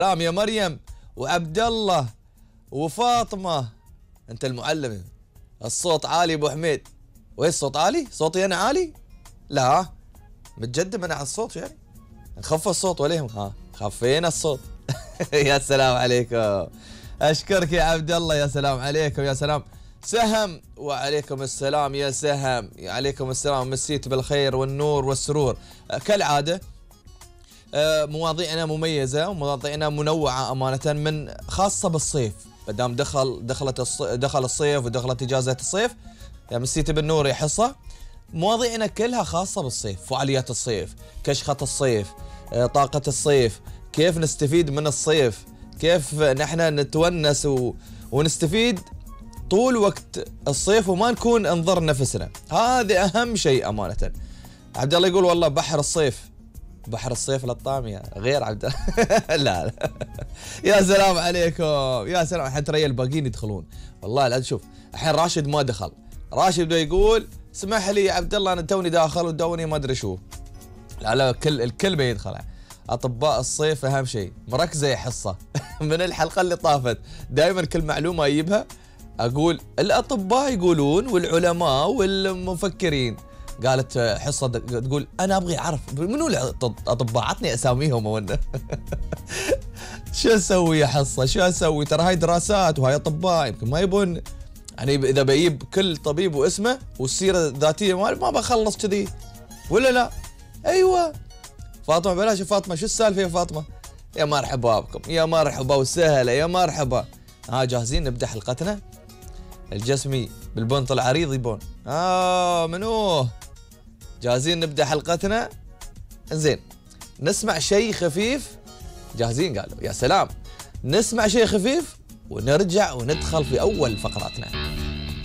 سلام يا مريم وعبد الله وفاطمة. انت المعلم. الصوت عالي ابو حميد. وين الصوت عالي؟ صوتي انا عالي؟ لا متجدم انا على الصوت يعني. نخفف الصوت وليهم. خفينا الصوت. يا سلام عليكم. اشكرك يا عبد الله. يا سلام عليكم. يا سلام. سهم وعليكم السلام يا سهم. عليكم السلام. مسيت بالخير والنور والسرور كالعادة. مواضيعنا مميزة ومواضيعنا منوعة أمانة، من خاصة بالصيف. مادام دخل الصيف ودخلت إجازة الصيف، يا مسيت بالنور يا حصة. مواضيعنا كلها خاصة بالصيف، فعاليات الصيف، كشخة الصيف، طاقة الصيف، كيف نستفيد من الصيف، كيف نحن نتونس ونستفيد طول وقت الصيف وما نكون نضر نفسنا. هذا أهم شيء أمانة. عبد الله يقول والله بحر الصيف للطامية غير عبد الله. لا يا سلام عليكم. يا سلام. الحين ترى الباقيين يدخلون والله. لا شوف الحين راشد ما دخل. راشد بده يقول اسمح لي يا عبد الله انا توني داخل ودوني ما ادري شو. لا الكل بيدخل. اطباء الصيف اهم شيء. مركزه يا حصه. من الحلقه اللي طافت دائما كل معلومه اجيبها اقول الاطباء يقولون والعلماء والمفكرين. قالت حصه تقول انا ابغي اعرف منو الاطباء، عطني اساميهم ولا. شو اسوي يا حصه؟ شو اسوي؟ ترى هاي دراسات وهاي اطباء يمكن ما يبون يعني. اذا بجيب كل طبيب واسمه والسيره الذاتيه ما بخلص كذي ولا لا؟ ايوه فاطمه بلاش. فاطمه شو السالفه يا فاطمه؟ يا مرحبا بكم. يا مرحبا وسهلا. يا مرحبا. جاهزين نبدا حلقتنا؟ الجسمي بالبنط العريض يبون. منو؟ جاهزين نبدا حلقتنا؟ زين نسمع شيء خفيف. جاهزين؟ قالوا يا سلام. نسمع شيء خفيف ونرجع وندخل في اول فقراتنا.